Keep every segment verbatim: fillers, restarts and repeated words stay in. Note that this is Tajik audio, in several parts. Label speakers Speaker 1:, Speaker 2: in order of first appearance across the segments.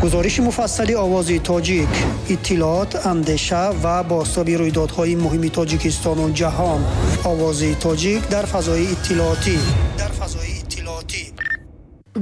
Speaker 1: Гузориши муфассали Овози Тоҷик, иттилоот, андеша ва бозтоби рӯйдодҳои муҳими Тоҷикистону ҷаҳон. Овози Тоҷик дар фазои иттилоотӣ. Дар фазои иттилоотӣ.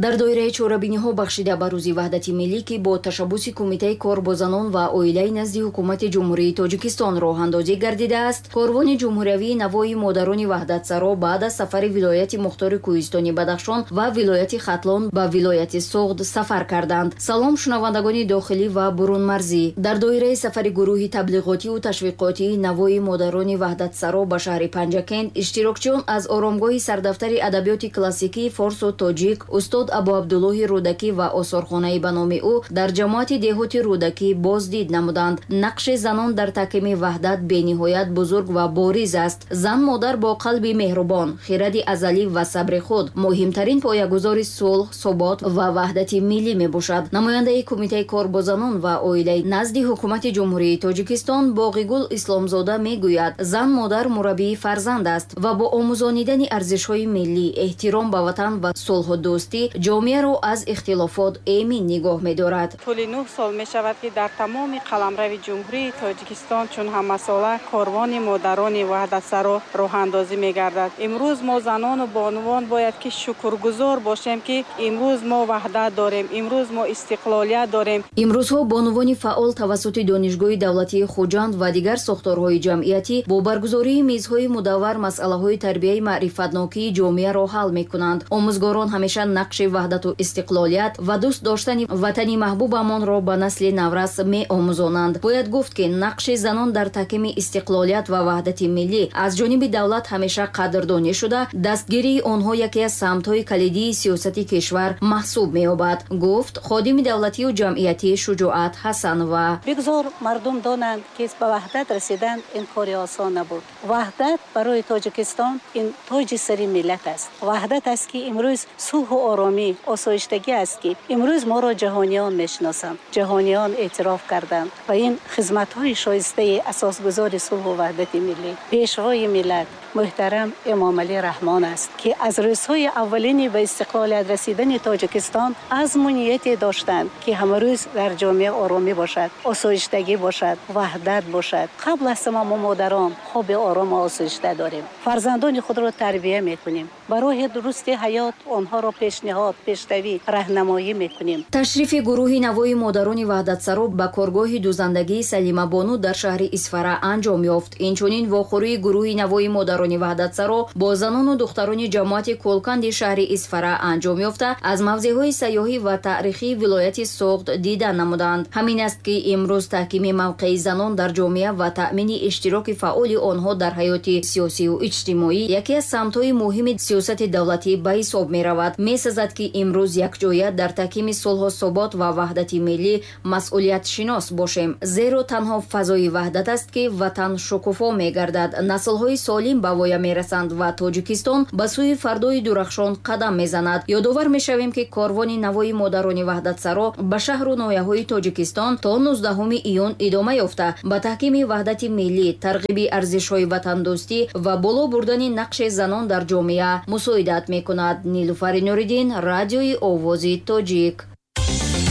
Speaker 2: Дар доираи чорабиниҳо бахшида ба Рӯзи Ваҳдати Миллӣ, ки бо ташаббуси Кумитаи кор бо занон ва оилаи назди Ҳукумати Ҷумҳурии Тоҷикистон роҳандозӣ гардидааст, корвони ҷумҳуриявии Навои модарони ваҳдатсаро баъд аз сафари вилояти мухтори Кӯҳистони Бадахшон ва вилояти Хатлон ба вилояти Суғд сафар карданд. Салом, шунавандагони дохилӣ ва бурунмарзӣ. Дар доираи сафари гурӯҳи таблиғотиву ташвиқотии Навои модарони ваҳдатсаро ба шаҳри Панҷакент, иштирокчиён аз оромгоҳи сардафтари адабиёти классикии форсу тоҷик устод Абу Абдуллоҳи Рӯдакӣ ва осорхонаи ба номи ӯ дар ҷамоати деҳоти Рӯдакӣ боздид намуданд. Нақши занон дар таҳкими ваҳдат бениҳоят бузург ва бориз аст. Зан модар бо қалби меҳрубон, хиради азалӣ ва сабри худ муҳимтарин поягузори сулҳ, субот ва ваҳдати миллӣ мебошад. Намояндаи Кумитаи кор бо занон ва оилаи назди Ҳукумати Ҷумҳурии Тоҷикистон Боғигул Исломзода мегӯяд, зан модар мураббии фарзанд аст ва бо омӯзонидани арзишҳои миллӣ, эҳтиром ба ватан ва сулҳу дӯстӣ ҷомеаро аз ихтилофот эмин нигоҳ медорад.
Speaker 3: Тӯли нӯҳ сол мешавад, ки дар тамоми қаламрави Ҷумҳурии Тоҷикистон чун ҳамасола корвони модарони ваҳдатсаро роҳандозӣ мегардад. Имрӯз мо занону бонувон бояд ки шукргузор бошем, ки имрӯз мо ваҳдат дорем, имрӯз мо истиқлолият дорем.
Speaker 2: Имрӯзҳо бонувони фаъол тавассути Донишгоҳи давлатии Хуҷанд ва дигар сохторҳои ҷамъиятӣ бо баргузории мизҳои мудаввар масъалаҳои тарбияи маърифатнокии ҷомеаро ҳал мекунанд. Омӯзгорон ҳамеша нақши ваҳдату истиқлолият ва дӯст доштани ватани маҳбубамонро ба насли наврас меомӯзонанд. Бояд гуфт, ки нақши занон дар таҳкими истиқлолият ва ваҳдати миллӣ аз ҷониби давлат ҳамеша қадрдонӣ шуда, дастгирии онҳо яке аз самтҳои калидии сиёсати кишвар маҳсуб меёбад, гуфт ходими давлатию ҷамъиятии Шуҷоат Ҳасанова.
Speaker 4: Бигзор мардум донанд, ки ба ваҳдат расидан ин кори осон набуд. Ваҳдат барои Тоҷикистон ин тоҷи сари миллат аст. Ваҳдат аст, ки имрӯз сулҳу оромӣ, осоиштагӣ аст, ки имрӯз моро ҷаҳониён мешиносанд, ҷаҳониён эътироф карданд ва ин хизматҳои шоистаи асосгузори сулҳу ваҳдати миллӣ, пешвои миллат муҳтарам Эмомалӣ Раҳмон аст, ки аз рӯзҳои аввалини ба истиқлолият расидани Тоҷикистон азму нияте доштанд, ки ҳамарӯз дар ҷомеа оромӣ бошад, осоиштагӣ бошад, ваҳдат бошад. Қабл аз ҳама мо модарон хоби орому осоишта дорем, фарзандони худро тарбия мекунем, ба роҳи дурусти ҳаёт онҳоро пешниҳод, пешравӣ, раҳнамоӣ мекунем.
Speaker 2: Ташрифи гурӯҳи Навои модарони ваҳдатсаро ба коргоҳи дузандагии Салимабону дар шаҳри Исфара анҷом ёфт. Инчунин вохӯрии гурӯҳи Навои модарони ваҳдатсаро бо занону духтарони ҷамоати Кӯлканди шаҳри Исфара анҷом ёфта, аз мавзеъҳои сайёҳӣ ва таърихии вилояти Суғд дида намуданд. Ҳамин аст, ки имрӯз таҳкими мавқеи занон дар ҷомеа ва таъмини иштироки фаъоли онҳо дар ҳаёти сиёсию иҷтимоӣ яке аз самтҳои муҳими сиёсати давлатӣ ба ҳисоб меравад. Месазад, ки имрӯз якҷоя дар таҳкими сулҳу субот ва ваҳдати миллӣ масъулиятшинос бошем, зеро танҳо фазои ваҳдат аст, ки ватан шукуфо мегардад, наслҳои солим ба воя мерасанд ва Тоҷикистон ба сӯи фардои дурахшон қадам мезанад. Ёдовар мешавем, ки корвони Навои модарони ваҳдатсаро ба шаҳру ноҳияҳои Тоҷикистон то нуздаҳуми июн идома ёфта, ба таҳкими ваҳдати миллӣ, тарғиби арзишҳои ватандӯстӣ ва боло бурдани нақши занон дар ҷомеа мусоидат мекунад. Нилуфари Нуриддин, Радиои Овози Тоҷик.